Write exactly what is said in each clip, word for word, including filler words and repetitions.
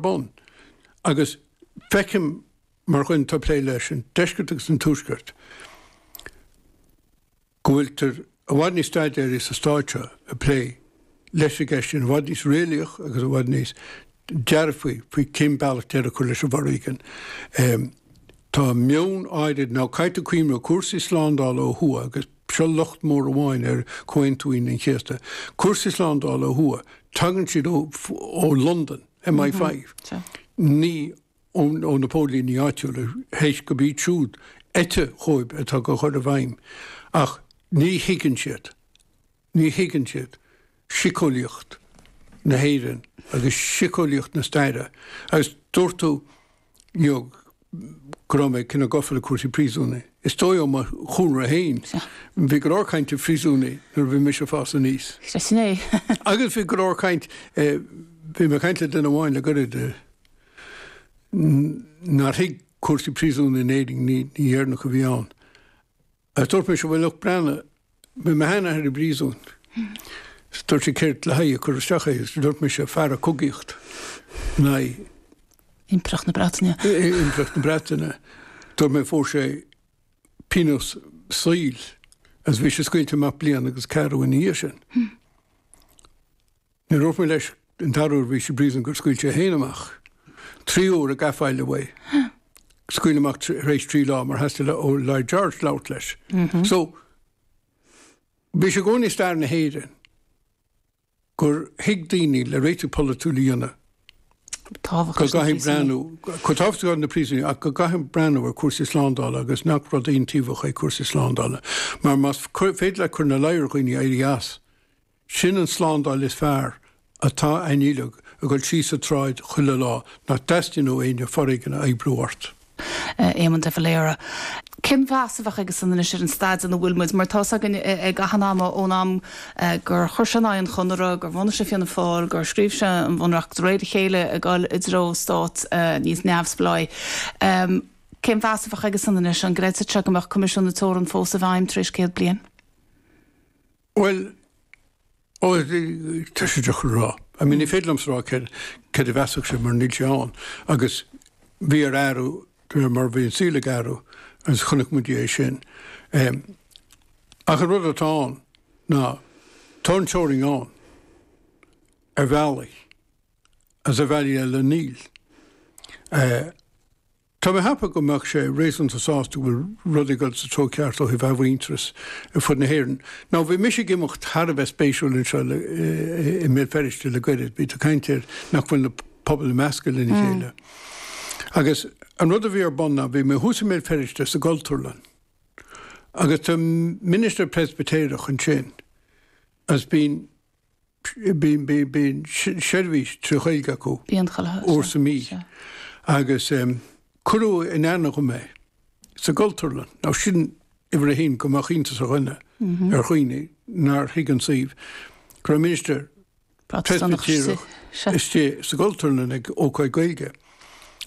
bun agus feicim mar dhuine atá ag plé leis an deisceart agus an tuaisceart go bhfuiltear i bhfad níos staidéaraí sa stát seo ag plé leis an gceist sin, i bhfad níos réalaíoch agus i bhfad níos dearfaí faoi cén bealach deireadh a chur leis an bhforéigean. Tá meon áirid, now caithfidh tú cuimhneamh, cúrsaí slándála ó thuaidh agus seo locht mór amháin ar Chomhaontú Aoine an Chéasta, cúrsaí slándála ó thuaidh, tagann siad ó ó Londain, M I five, ní ó ó na póilíní áitiúla, théis gurb iad siúd eite dhóibh atá á chur i bhfeidhm. Ach ní thuigeann siad, ní thuigeann siad síceolaíocht na hÉireann agus síceolaíocht na staire. Agus dúirt tú you know, go raibh mé cineál gafa le cúrsaí príosúnaigh. Is dóigh ó mo chúlra féin, bhí go leor cainte phríosúnaigh nuair a bhí mise ag fás aníos. Sin é. Agus bhí go leor caint, bhí mé ag caint le duine amháin le gairid nár thuig cúrsaí príosúnaigh in Éirinn, ní Éireannach a bhí ann. Agus dúirt mise, bhuel look, breathnaigh, bhí mo sheanathair i bpríosún. Dúirt sé céard le haghaidh a cuireadh isteach é agus dúirt mise fear ag cogaíocht in aghaidh. Impireacht na Breataine. Impireacht na Breataine. Dúirt mé fuair sé pionós saoil agus bhí sé scaoilte amach bliain agus ceathrú ina dhiaidh sin. Níor dhúirt mé leis an dara huair a bhí sé i bpríosún gur scaoil sé é féin amach. Trí huaire a gafail uaidh. Scaoileadh amach tar éis trí lá mar theastaigh ó Lloyd George labhairt leis. So, bhí sé i gcónaí i stair na hÉireann gur thuig daoine le réiteach polaitiúil a dhéanamh go gcaithfidh breathnú, chomh tábhachtach na príosúnaigh ach go gcaithfidh breathnú ar chúrsaí slándála agus nach rud aontaobhach é cúrsaí slándála. Mar más féidir leat cur ina luí ar dhaoine éirí as, Sin an tslándáil is fearr atá againn uilig, ag dul síos an tsráid chuile lá, nach dteastaíonn ó éinne foréigean a oibriú ort. Éamon de Valera. Cén mheas a bheadh aigesan anois ar an staid ina bhfuil muid, mar tá 's againn ag achan am ón am gur chuir sé in aghaidh an Chonartha, gur bhunaigh sé Fianna Fáil, gur scríobh sé an Bhunreacht de réir a chéile ag dul i dtreo stát níos neamhspleáí. Cén mheas a bheadh aigesan anois? An gcreidfeadh sé go mbeadh Coimisiún na Teorann fós i bhfeidhm tar éis céad bliain? Bhuel, ó, tá sé deacair a rá. I mean, ní féidir liomsa a rá céard, céard a mheasfadh sé mar níl sé ann. Agus bhí air athrú de réir mar a bhí an saol ag athrú agus chonaic muid é sin. Ach an rud atá ann ná tá an teorainn ann ar bhealaí agus ar bhealaí eile níl. Tá mé ag ceapadh go mbeadh sé réasúnta sásta go bhfuil rudaí ag dul sa treo ceart ó thaobh athmhuintearas ar fud na hÉireann. Now bhí mise ag imeacht thar a bheith spéisiúil anseo i mBéal Feirste le goirid. Bhí tú ag caint ar nach bhfuil na pobail ag meascadh lena chéile. Agus an rud a bhí ar bun ná bhí mé thuas i mBéal Feirste sa gCultúrlann agus tá ministir Preispitéireach ansin agus bíonn Bíonn seirbhís trí Ghaeilge acu uair sa mhí agus cuireadh in aithne dhom é sa gCultúrlann. Now sin uimhir a haon go mbeadh iontas ar dhuine, ar dhaoine nár thuig an suíomh, go raibh ministir Preispitéireach istigh sa gCultúrlann ag ócáid Gaeilge.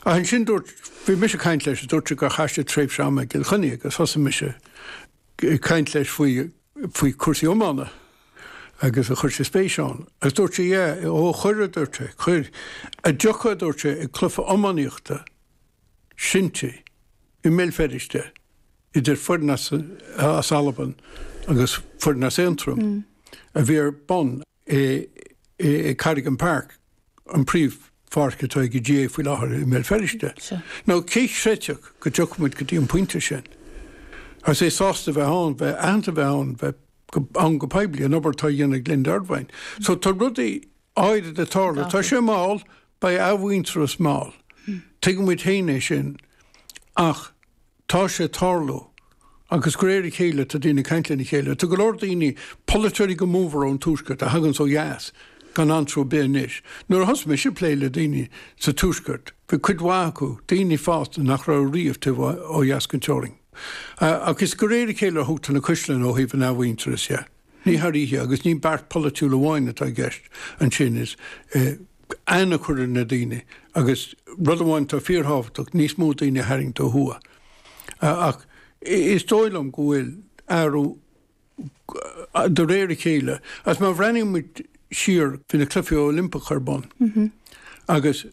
Ach ansin dúirt, bhí mise ag caint leis, dúirt sé gur chaith sé tréimhse ama i gCill Chainnigh agus thosaigh mise ag caint leis faoi faoi chúrsaí iomána agus a chuir sé spéis ann. Agus dúirt sé, yeah, ó chuir, a dúirt sé, chuir. A dtiocfá, a dúirt sé, ag cluiche iománaíochta sinsir i mBéal Feirste idir foireann as, as Albain agus foireann as Aontroim a bhí ar bun i, i Cadogan Park, an príomhpháirc atá ag an G A A faoi láthair i mBéal Feirste. Now cé chreidfeadh go dtiocfadh muid go dtí an pointe sin? Agus é sásta bheith ann, bheith aitheanta bheith ann, bheith ann go poiblí, an obair atá á dhéanamh ag Linda Ervine. So tá rudaí áirid ag tarlú. Tá sé mall, beidh athmhuintearas mall. Tuigeann muid féin é sin. Ach Tá sé ag tarlú. Agus de réir a chéile tá daoine ag caint lena chéile. Tá go leor daoine, polaiteoirí go mórmhór ón Tuaisceart, a thaganns ó dheas gan antró ar bith anois. Nuair a thosaigh mise ag plé le daoine sa Tuaisceart, bhí cuid mhaith acu, daoine fásta nach raibh riamh taobh ó dheas den teorainn. Ach is de réir a chéile a thógtar na caisleáin ó thaobh an athmhuintearais dhe. Ní thar oíche agus ní beart polaitiúil amháin atá i gceist ansin, is aithne a chur ar na daoine agus rud amháin atá fíorthábhachtach, níos mó daoine a tharraingt ó thuaidh. Ach is dóigh liom go bhfuil athrú de réir a chéile agus má bhreathnaíonn muid siar, bhí na Cluichí Oilimpeacha ar bun agus